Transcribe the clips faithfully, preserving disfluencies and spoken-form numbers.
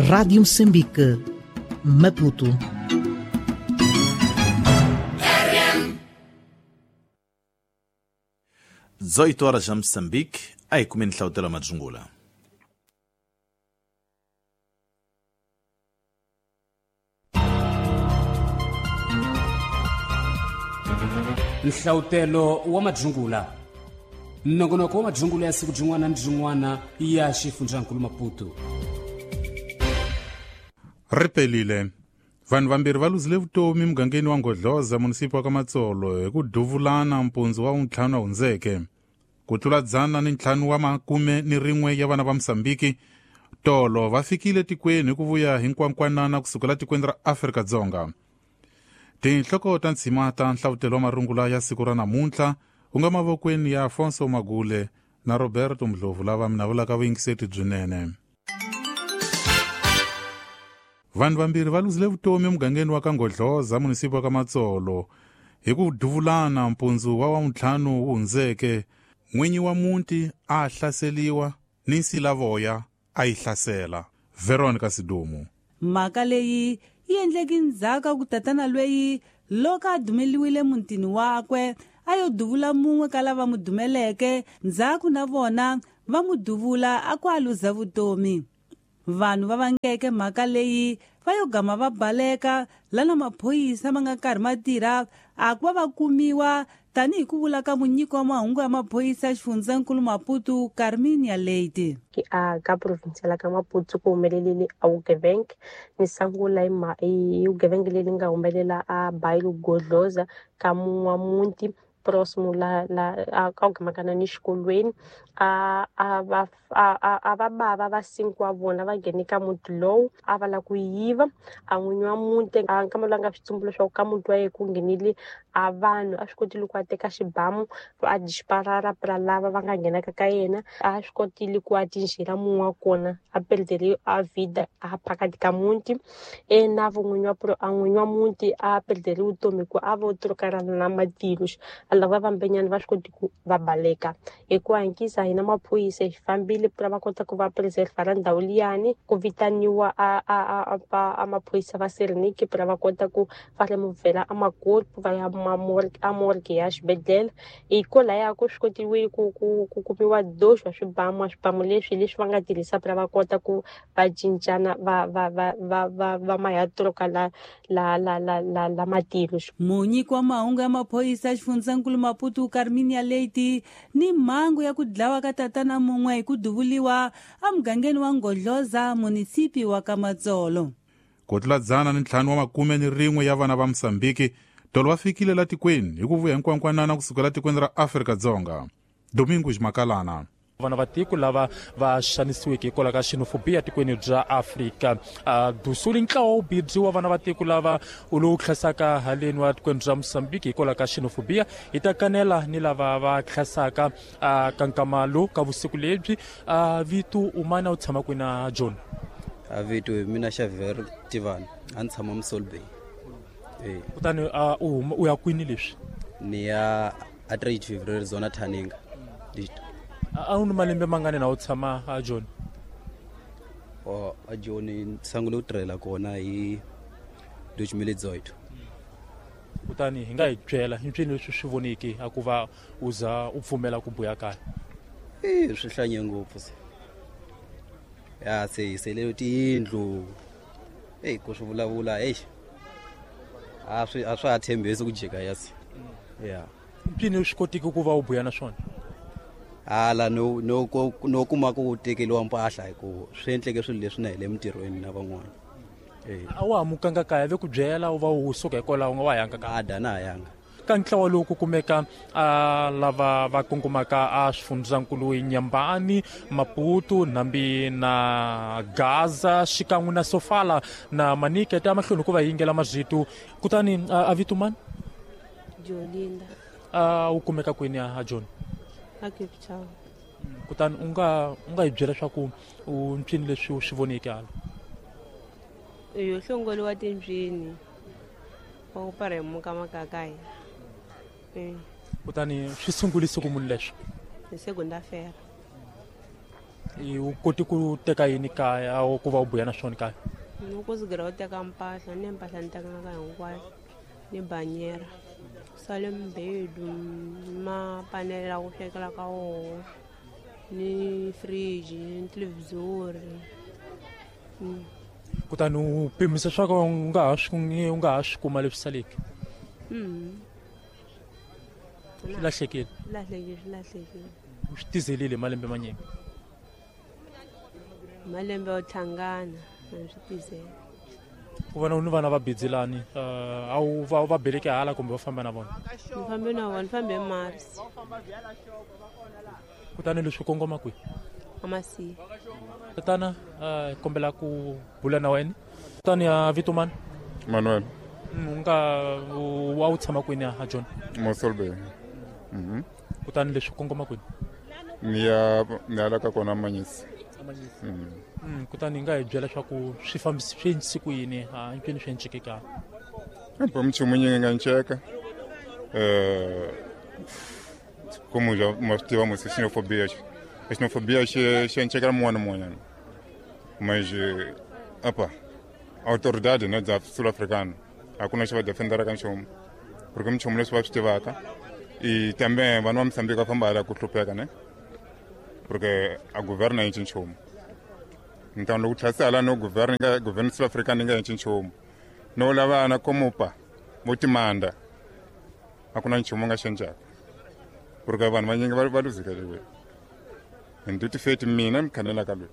Rádio Moçambique, Maputo. dezoito horas em Moçambique, aí comendo o tela Majungula. Nhlautelo wa Majungula. Nongonoko wa Majungula ya siku jin'wana ni jin'wana ya xifundzankulu Maputo. Ri pelile. Vanhu vambirhi va luzile vutomi mugangeni wa Ngodloza, munisipi wa Kamatsolo, hi ku duvulana mpundzu wa ntlhanu hundzeke. Ku tlula dzana ni ntlhanu wa makume ni rin'we ya vana va Mosambiki tolo va fikile tikweni hi ku vuya hi nkwankwanana kusukela tikweni ra Afrika-Dzonga. Tinhloko ta ntshima ta nhlavutelo wa marungula ya siku ra namuntlha ku nga mavokweni ya Afonso Magule na Roberto Mdlovu lava mina vulaka vuyingiseti byinene. Vanhu vambirhi va luzile vutomi emugangeni wa Kangodloza, munisipi wa Kamatsolo, hi ku duvulana mpundzu wa wavuntlhanu wu hundzeke. N'winyi wa muti a hlaseliwa ni nsilavoya a yi hlasela. Veronica Sidumu. Mhaka leyi yi endleke ndzhaku ku tatana lweyi loko a dumeliwile mutini wakwe a yo duvula mun'we ka lava mu dumeleke, ndzhaku na vona va mu duvula a ku a luza vutomi. Vanhu va vangeke mhaka leyi va yo gama va baleka lana maphorisa ma nga karhi ma tirha a ku va va kumiwa tanihi ku vula ka munyiki wa mahungu ya maphorisa ya xifundzankulu Maputo, Carminia Leite. Ke a ka province la ka Maputo ku humelelile a vugevenga ni sungula hi ma hi vugevenga leri nga humelela a Bailo Godloza ka mun'wa muti próximo la la a ka gamakana ni xikolweni a a va a a va bava va cinco wa vona va nghene ka muti lowu a va la ku yiva a n'winyi wa muti a nkama lowu a nga swi tsumbula leswaku ka muti wa yena ku nghenile a vanhu a swi kotile ku a teka xibamu a disparara pra lava va nga nghenaka ka yena a swi kotile ku a tinjhela mun'we wa kona a perdele a vida a phakati ka muti e na vun'winyi wa a n'winyi wa muti a perdele vutomi ku a vo trokarana na matilo lava vambenyana va swi koti ku va baleka hi ku hankisa hina maphorisa hi fambile pra va kota ku va preserve ra ndhawu liyani ku vitaniwa a a a a maphorisa va Serenike pra va kota ku va removela a makorpo va ya morgue a morgue ya xibedhlele hi kwalaya ku swi kotiwe ku ku ku kumiwa doxo wa swibamu swibamu leswi leswi va nga tirhisa pra va kota ku va cincana va va va va va va maya troka la la la la la la matilo. Munyiki wa mahungu ya maphorisa ya xifundzankulu Maputo, Carminia Leite, ni mhangu ya ku dlawa ka tatana mun'we hi ku duvuliwa emugangeni wa Ngodloza, munisipi wa Kamatsolo. Ku tlula dzana ni ntlhanu wa makume ni rin'we ya vana va Mosambiki tolo va fikile la tikweni hi ku vuya hinkwankwanana kusukela tikweni ra Afrika-Dzonga. Domingos Makalana. Vana va tiko lava va xanisiweke hikwalaho ka xenofobia tikweni bya Afrika dusuli ntlawa wu bibyi wa vana va tiko lava u lowu hlasaka haleni wa tikweni bya Mosambiki hikwalaho ka xenofobia hi ta kanela ni lava va hlasaka ka nkama lowu ka vusiku lebyi. Vito umana u tshama kwini na John? A vito mina Xavier Tivani, a ni tshama Msolbey. Eh kutani u u ya kwini leswi? Ni ya a Trade February zona Thaninga. A wu ni malembe mangani na u tshama a John? O a John ni sungule ku tirhela kona hi dois mil e dezoito. Kutani hi nga hi byela hi mpfini leswi swi voneke a ku va u za u pfumela ku buya kaya? Eh swi hlanye ngopfu se. Ya se hi sele tiyindlu. Ey ku swi vulavula hey. A swi a swa ha tshembisi ku jika ya se. Yeah. Mpfini swi kotiki ku va u buya na swona? Hala no no no kuma ku tekeriwa mpahla hi ku swi endleke swilo leswi na hi le mintirhweni na van'wana. Eh a wa hamukanga kaya ve ku byela u va u suka hikwalaho u nga wa yanga kaya? A da na yanga. Ka ntlawa lowu ku kumeka a lava va kongomaka a swifundzankulu Nyambani, Maputo, Nambi na Gaza xikan'we na Sofala na Manike ta mahlweni ku va yingela mazito. Kutani a vito mani? Jolinda. A wu kumeka kwini a John? A Cape Town. Kutani u nga u nga hi byela leswaku u mpfini leswi u swi voneke hala? Yo hlongoliwa timbyini wa ku paremuka makakaya. Kutani swi sungulise ku munhu leswi? Hi segunda-feira. U koti ku teka yini kaya ku va u buya na swona kaya? Ni ku zigera u teka mpahla ni mpahla ni tekanga hinkwayo ni banyera sale mbedu mapanela ku swekela ka woho ni fridge ni televhizori. Kutani u pimisa swa ku u nga ha swi u nga ha swi kuma leswi saleke? Swi lahlekile? Lahlekile, swi lahlekile. U swi tizelile malembe manyingi? Malembe yo tlhangana a swi tizela. Ku vona u ni vana va bidzelani a wu va va beleke hala kumbe va famba na vona? Ni fambe na vona, ni fambe Mars. Kutani leswi kongoma kwihi? Amasiya. Tatana hi kombela ku bula na wena. Kutani ya vito mani? Manuel. U nga wa wu tshama kwini a John? Mossel Bay. Mhm. Kutani leswi kongoma kwini? Ni ya ni ya la ka kona Manyisi. Mm, kutani hi nga hi byela leswaku swi fambisi swi endlise ku yini a ncini swi enceke ka? Empa nchumu nyingi nga nceka. Eh como já ma swi tiva musi xenofobia xenofobia xi xi encekela mun'wana na mun'wanyana. Mas apa autoridade né da sul-africana a ku na xi va defenderaka nchumu porque minchumu leswi va swi tivaka e também vanhu va Moçambique va famba hala ku hlupheka ne porque a governo yi cinci nchumu. Então loko tlhasi hala no governo nga governo sul-africana yi nga cinci nchumu no lava na komupa vo timanda a ku na nchumu nga cincaka porque vanhu vanyingi va va luzekeriwile. Ndi feti mina mi khanelaka loyi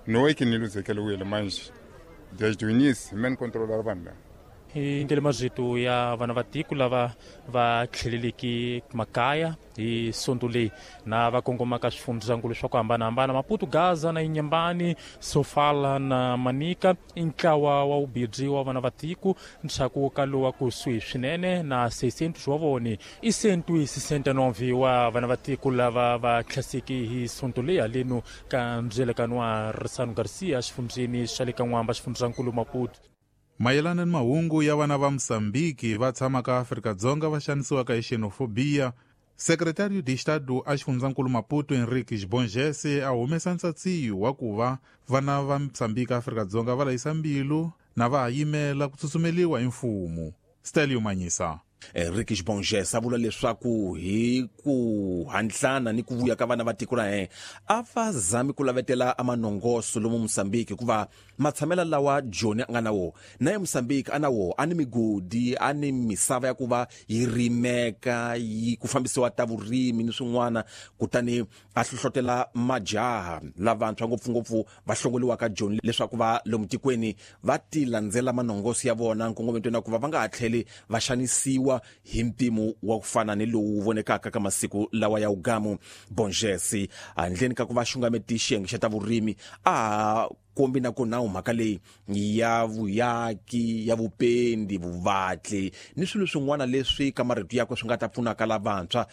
no e que ni luzekeriwile manje desde o início me controlar vanhu lava. Hi ndlela marito ya vana va tiko lava va tlheleleke makaya hi sonto leyi na va kongomaka swifundzakulu swa ku hambanahambana Maputo, Gaza na Inhambane, Sofala na Manica i ntlawa wa vubirhi wa vana va tiko ntshaku ka lowa kusuhi swinene na seiscentos wa vone i cento e sessenta e nove wa vana va tiko lava va tlhaseke hi sonto leyi haleno ka ndzilekano wa Ressano Garcia xifundzeni xa le ka N'wamba xifundzankulu Maputo. Mayelana ni mahungu ya vana va Moçambique va tshamaka Afrika-Dzonga va xanisiwaka hi xenofobia, Secretário de Estado a xifundzankulu Maputo Henriques Bongese a humesa ntsatsiyo wa ku va vana va Moçambique Afrika-Dzonga va layisa mbilu na va ha yimela ku tsutsumeliwa hi mfumo. Stelio Manyisa. Henriques Bongese a vula leswaku hi ku handlana ni ku vuya ka vana va tiko ra yena a va zami ku lavetela a manongoso lomu Moçambique hikuva matshamela lawa Joni a nga na wo na ye Moçambique a na wo a ni migodi a ni misava ya ku va yi rimeka yi ku fambisiwa ta vurimi ni swin'wana kutani a hlohlotela majaha lavantshwa ngopfungopfu va hlongoliwaka Joni leswaku va lomu tikweni va ti landzela manongoso ya vona nkongometweni na ku va va nga ha tlheli va xanisiwa hi mpimo wa ku fana ni lowu vonekaka ka masiku lawa ya ugamu. Bongese handleni ka ku va xungameti xiyenge xa ta vurimi a kombi na ku nawu mhaka leyi ya vuyaki ya vupendi vuvatli ni swilo swin'wana leswi ka marito yakwe swi nga ta pfunaka lavantshwa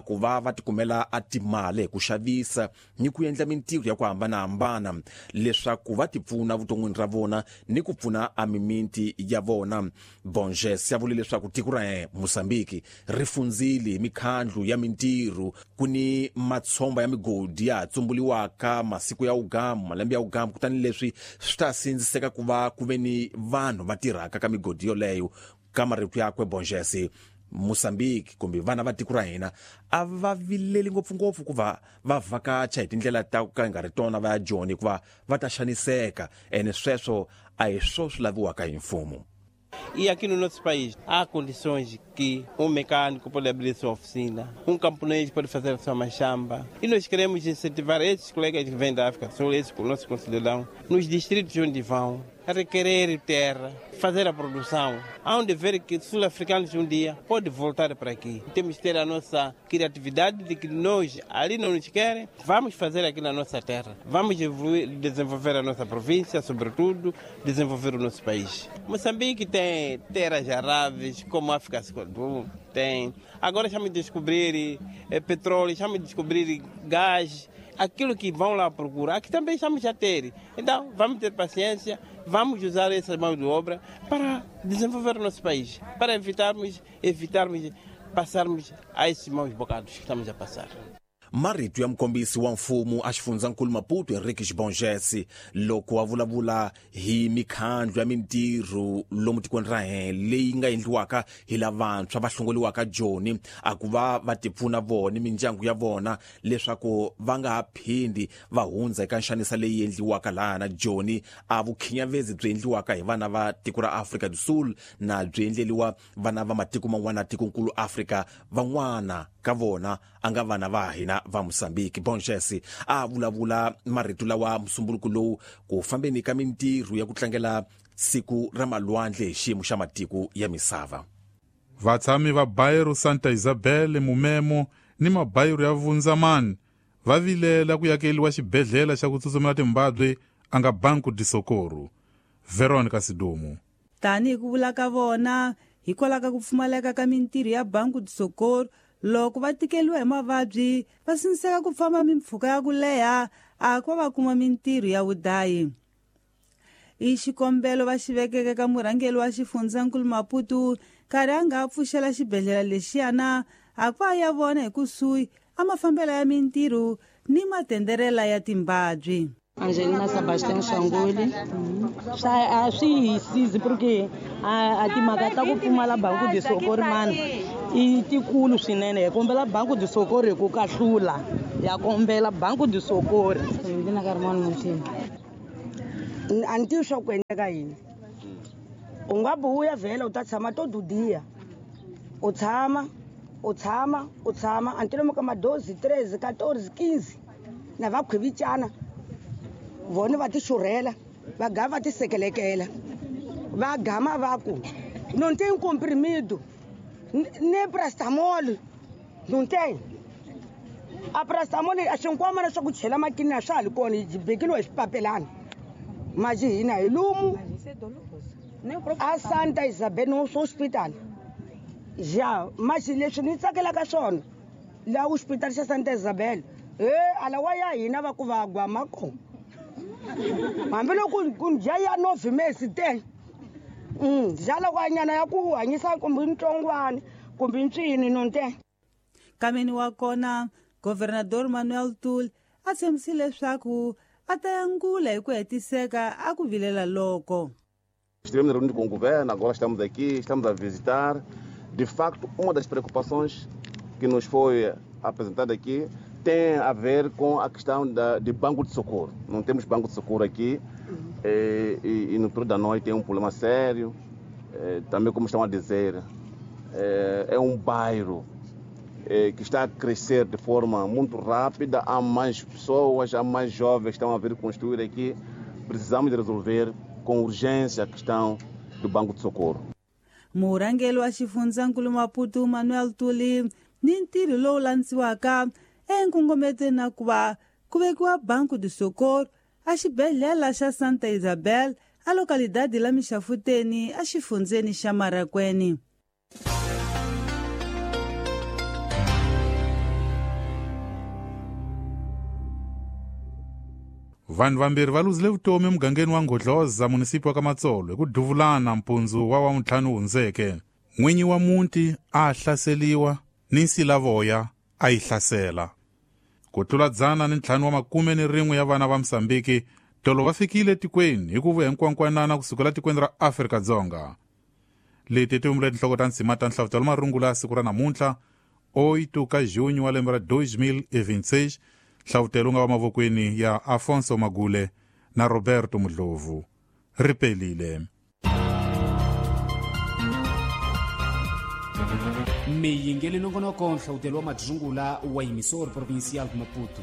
ku va va tikumela a timali hi ku xavisa ni ku endla mintirho ya ku hambanahambana leswaku va tipfuna vuton'wini ra vona ni ku pfuna a mimiti ya vona. Bongese ya vule leswaku tiko ra Moçambique ri fundzile hi mikhandlu ya mintirho ku ni matshomba ya migodi ya tsumbuliwaka masiku ya ugamu malembe ya ugamu kutani leswi swi ta sindziseka ku va ku ve ni vanhu va tirhaka ka migodi yoleyo. Ka marito yakwe Bongese, Moçambique kumbe vana va tiko ra hina a va vileli ngopfungopfu ku va va vhakacha hi tindlela ta ku ka nga ri tona va ya Joni hikuva va ta xaniseka ene sweswo a hi swo swi laviwaka hi mfumo. E aqui no nosso país há condições que um mecânico pode abrir sua oficina, um camponês pode fazer a sua machamba. E nós queremos incentivar esses colegas que vêm da África do Sul, esses nossos concidadãos, nos distritos onde vão, a requerer terra, fazer a produção. Há onde ver que sul-africanos um dia podem voltar para aqui. Temos que ter a nossa criatividade de que nós ali não nos querem, vamos fazer aqui na nossa terra. Vamos evoluir, desenvolver a nossa província, sobretudo, desenvolver o nosso país. Moçambique tem terras aráveis, como a África do tem. Agora estamos a descobrir eh, petróleo, estamos a descobrir gás, aquilo que vão lá procurar, aqui também estamos a ter. Então, vamos ter paciência, vamos usar essa mão de obra para desenvolver o nosso país, para evitarmos, evitarmos passarmos a esses maus bocados que estamos a passar. Marito ya mukombisi wa mfumo a xifundzankulu Maputo Henrique Bongese loko a vulavula hi mikhandlu ya mintirho lomu tikweni ra hina leyi nga endliwaka hi lavantshwa va hlongoliwaka Joni a ku va va tipfuna vona mindyangu ya vona leswaku va nga ha phindi va hundza eka nxanisa leyi endliwaka laha na Joni a vukhinyavezi byi endliwaka hi vana va tiko ra Afrika do Sul na byi endleliwa vana va matiko man'wana tikonkulu Afrika van'wana ka vona a nga vana va hina va Mozambique. Bongese a vulavula marito lawa musumbuluko lowu ku fambeni ka mintirho ya ku tlangela siku ra malwandle hi xiyimo xa matiko ya misava. Vatshami va Bairro Santa Isabel Mumemo ni mabairro ya Vunzamani va vilela ku yakeliwa xibedhlele xa ku tsutsumela timbabwe a nga Banco de Socorro. Veronica Sidumo. Tanihi ku vula ka vona hikwalaho ka ku pfumaleka ka mintirho ya Banco de Socorro loko va tikeliwa hi mavabyi va sindziseka ku famba mimpfhuka ya ku leha a ku va kuma mintirho ya vudayi. I xikombelo va xi vekeke ka murhangeri wa xifundzankulu Maputo nkarhi a nga pfuxela xibedhlele lexiyana a ku va ya vona hi kusuhi a mafambelo ya mintirho ni matenderela ya timbabyi. Angelina Sebastian Shangoli swa a swi hi sizi porque a timhaka ta ku pfumala Banco de Socorro mani i tikulu swinene. Hi kombela Banco de Socorro hi ku kahlula ya kombela Banco de Socorro. Ndzi Carmona Muthini. A ni tivi swa ku endleka yini. U nga buya vhela u ta tshama to dudiya u tshama u tshama u tshama a ni lomu ka madozi treze quatorze quinze na va khwivicana vona va ti xurhela va gama va ti sekelekela va gama va ku não tem comprimido nem paracetamol não tem a paracetamol a xinkwama na swa ku chela makini a swa ha li kona yi bekeliwa hi swipapelana maji hina hi lumu a Santa Isabel no hospital ja maji leswi ni tsakelaka swona laha hospital xa Santa Isabel e alawa ya hina va ku va gwama kona hambiloko ku dya ya nove mesi te dya kwanyana ya ku hanyisa kumbe ntsongwana kumbe ntswini nonte. Kameni wa kona Governador Manuel Tul a tshembisile leswaku a ta yangula hi ku hetiseka a ku vilela loko. Estivemos reunidos com o governo, agora estamos aqui, estamos a visitar. De facto, uma das preocupações que nos foi apresentada aqui tem a ver com a questão da, de banco de socorro. Não temos banco de socorro aqui e, e, e no período da noite é um problema sério. E, também, como estão a dizer, é, é um bairro é, que está a crescer de forma muito rápida. Há mais pessoas, há mais jovens que estão a vir construir aqui. Precisamos de resolver com urgência a questão do banco de socorro. Murhangeri wa xifundzankulu Maputo Manuel Tuli ni ntirho lowu landziwaka enkongometweni na ku va ku vekiwa Banco de Socorro a xibedhlele xa Santa Isabel a localidade la Mixafuteni a xifundzeni xa Marakweni. Vanhu vambirhi va luzile vutomi emugangeni wa Ngodloza munisipi wa Kamatsolo hi ku duvulana mpundzu wa wavuntlhanu hundzeke. N'winyi wa muti a hlaseliwa ni nsilavoya a yi hlasela. Ku tlula dzana ni ntlhanu wa makume ni rin'we ya vana va Mozambique tolo va fikile tikweni hi ku vuya hinkwankwanana kusukela tikweni ra Afrika-Dzonga. Leti ti humile tinhloko ta ndzima ta nhlavutelo marungula siku ra namuntlha oito ka junho wa lembe ra dois mil e vinte e seis. Nhlavutelo nga wa mavokweni ya Afonso Magule na Roberto Mudlovu. Ripelile. Miyingeli nongonoko nhlavutelo wa madzungula wa Emissora Provincial de Maputo.